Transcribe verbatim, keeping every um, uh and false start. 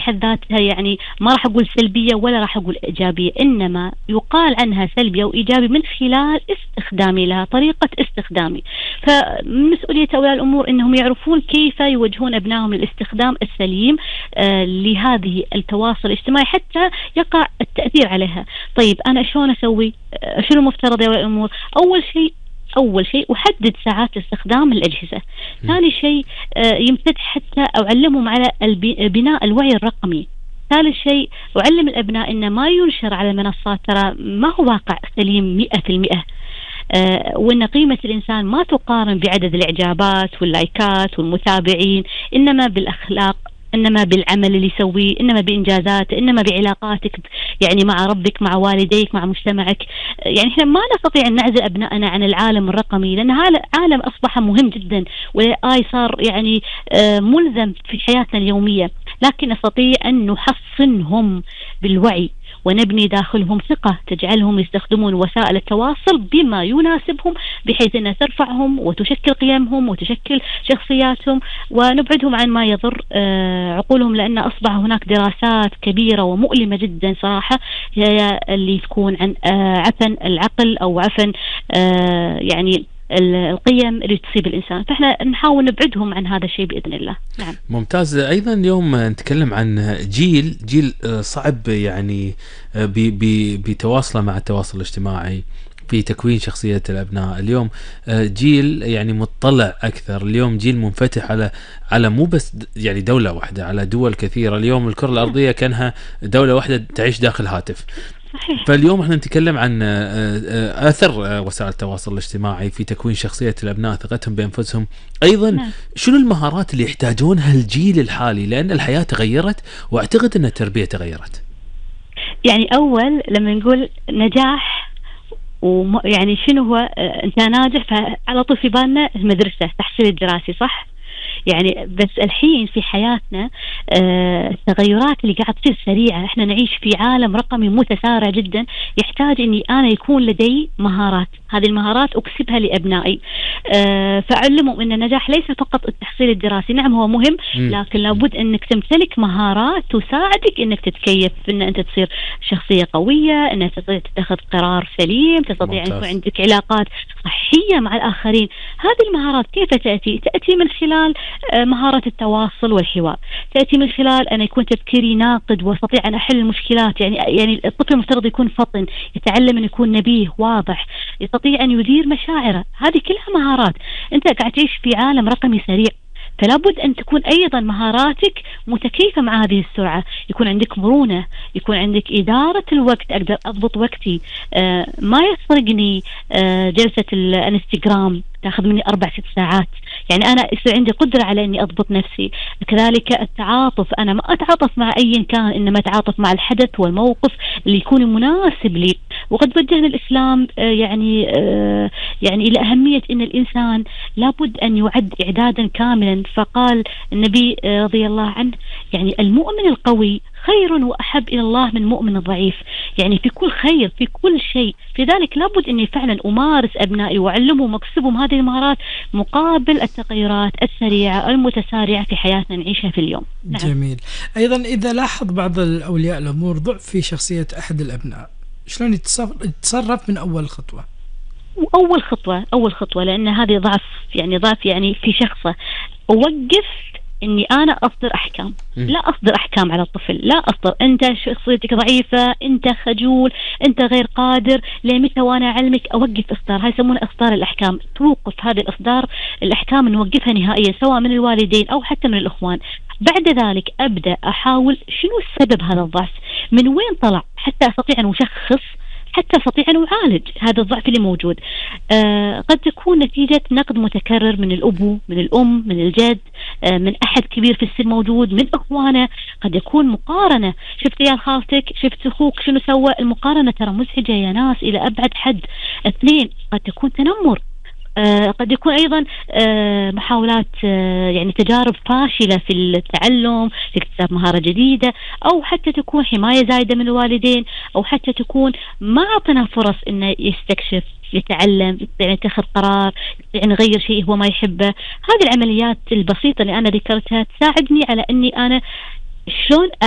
بحد ذاتها يعني ما راح أقول سلبية ولا راح أقول إيجابية، إنما يقال عنها سلبية وإيجابي من خلال استخدامي لها، طريقة استخدامي. فمسؤولية أولياء الأمور إنهم يعرفون كيف يوجهون أبنائهم للاستخدام السليم آه لهذه التواصل الاجتماعي حتى يقع التأثير عليها. طيب أنا شلون أسوي؟ آه شنو المفترض يا أولياء الأمور؟ أول شيء أول شيء أحدد ساعات استخدام الأجهزة. ثاني شيء آه يمتد حتى أعلمهم على بناء الوعي الرقمي. ثالث شيء أعلم الأبناء إن ما ينشر على المنصات ترى ما هو واقع سليم مئة في المئة، آه وإن قيمة الإنسان ما تقارن بعدد الإعجابات واللايكات والمتابعين، إنما بالأخلاق، إنما بالعمل اللي يسويه، إنما بإنجازاته، إنما بعلاقاتك يعني مع ربك، مع والديك، مع مجتمعك. يعني إحنا ما نستطيع أن نعزل أبنائنا عن العالم الرقمي، لأن هذا عالم أصبح مهم جدا، والآي صار يعني ملزم في حياتنا اليومية، لكن نستطيع أن نحصنهم بالوعي ونبني داخلهم ثقة تجعلهم يستخدمون وسائل التواصل بما يناسبهم، بحيث أنها ترفعهم وتشكل قيمهم وتشكل شخصياتهم، ونبعدهم عن ما يضر عقولهم، لأن أصبح هناك دراسات كبيرة ومؤلمة جدا صراحة هي اللي تكون عن عفن العقل أو عفن يعني القيم اللي تصيب الإنسان، فإحنا نحاول نبعدهم عن هذا الشيء بإذن الله. نعم. ممتاز. أيضا اليوم نتكلم عن جيل جيل صعب يعني بتواصله مع التواصل الاجتماعي في تكوين شخصية الأبناء. اليوم جيل يعني مطلع أكثر، اليوم جيل منفتح على على مو بس يعني دولة واحدة، على دول كثيرة. اليوم الكرة الأرضية كانها دولة واحدة تعيش داخل هاتف. صحيح. فاليوم احنا نتكلم عن أثر وسائل التواصل الاجتماعي في تكوين شخصية الأبناء، ثقتهم بأنفسهم. أيضا نعم. شنو المهارات اللي يحتاجونها الجيل الحالي، لأن الحياة تغيرت وأعتقد أن التربية تغيرت. يعني أول لما نقول نجاح ويعني شنو هو أنت ناجح، فعلى طول في بالنا المدرسة، تحصيل الدراسي، صح؟ يعني بس الحين في حياتنا آه التغيرات اللي قاعد تصير سريعة، احنا نعيش في عالم رقمي متسارع جدا، يحتاج اني انا يكون لدي مهارات، هذه المهارات اكسبها لابنائي. آه فاعلمهم ان النجاح ليس فقط التحصيل الدراسي، نعم هو مهم، لكن لابد انك تمتلك مهارات تساعدك انك تتكيف، ان انت تصير شخصية قوية، انك تستطيع تتخذ قرار سليم، تستطيع ان يكون عندك علاقات صحية مع الاخرين. هذه المهارات كيف تأتي؟ تأتي من خلال مهارة التواصل والحوار، تأتي من خلال أن يكون تفكيري ناقد واستطيع أن أحل المشكلات. يعني يعني الطفل المفترض يكون فطن، يتعلم أن يكون نبيه واضح، يستطيع أن يدير مشاعره. هذه كلها مهارات. أنت قاعد تعيش في عالم رقمي سريع، فلا بد أن تكون أيضا مهاراتك متكيفة مع هذه السرعة، يكون عندك مرونة، يكون عندك إدارة الوقت، أقدر أضبط وقتي، آه ما يسرقني آه جلسة الانستغرام تأخذ مني أربع ست ساعات. يعني أنا يصير عندي قدرة على إني أضبط نفسي. كذلك التعاطف، أنا ما أتعاطف مع أي كان، إنما أتعاطف مع الحدث والموقف اللي يكون مناسب لي. وقد وجهنا الإسلام آه يعني آه يعني إلى أهمية إن الإنسان لابد أن يعد إعدادا كاملا. فقال النبي آه رضي الله عنه يعني المؤمن القوي خير وأحب إلى الله من مؤمن ضعيف، يعني في كل خير في كل شيء. لذلك لابد أني فعلا أمارس أبنائي وأعلمهم وأكسبهم هذه المهارات مقابل التغيرات السريعة المتسارعة في حياتنا نعيشها في اليوم. نعم. جميل. أيضا إذا لاحظ بعض الأولياء الأمور ضعف في شخصية أحد الأبناء، شلون يتصرف من أول خطوة؟ أول خطوة أول خطوة لأن هذه ضعف، يعني ضعف يعني في شخصه، أوقف إني أنا أصدر أحكام. م. لا أصدر أحكام على الطفل، لا أصدر أنت شخصيتك ضعيفة، أنت خجول، أنت غير قادر، لمتى وأنا أعلمك. أوقف إصدار، هاي يسمونه إصدار الأحكام. توقف هذه الإصدار الأحكام، نوقفها نهائيا سواء من الوالدين أو حتى من الأخوان. بعد ذلك أبدأ أحاول شنو السبب هذا الضعف، من وين طلع، حتى أستطيع أن أشخص، حتى أستطيع أن أعالج هذا الضعف اللي موجود. آه قد تكون نتيجة نقد متكرر من الأبو، من الأم، من الجد، آه من أحد كبير في السن موجود، من أخوانه. قد يكون مقارنة، شفت يا خالتك، شفت أخوك شنو سوى. المقارنة ترى مزعجة يا ناس إلى أبعد حد. اثنين، قد تكون تنمر، آه قد يكون أيضا آه محاولات آه يعني تجارب فاشلة في التعلم، في اكتساب مهارة جديدة، أو حتى تكون حماية زايدة من الوالدين، أو حتى تكون ما أعطنا فرص إنه يستكشف، يتعلم، يعني يتخذ قرار، يعني يغير شيء هو ما يحبه. هذه العمليات البسيطة اللي أنا ذكرتها تساعدني على أني أنا شلون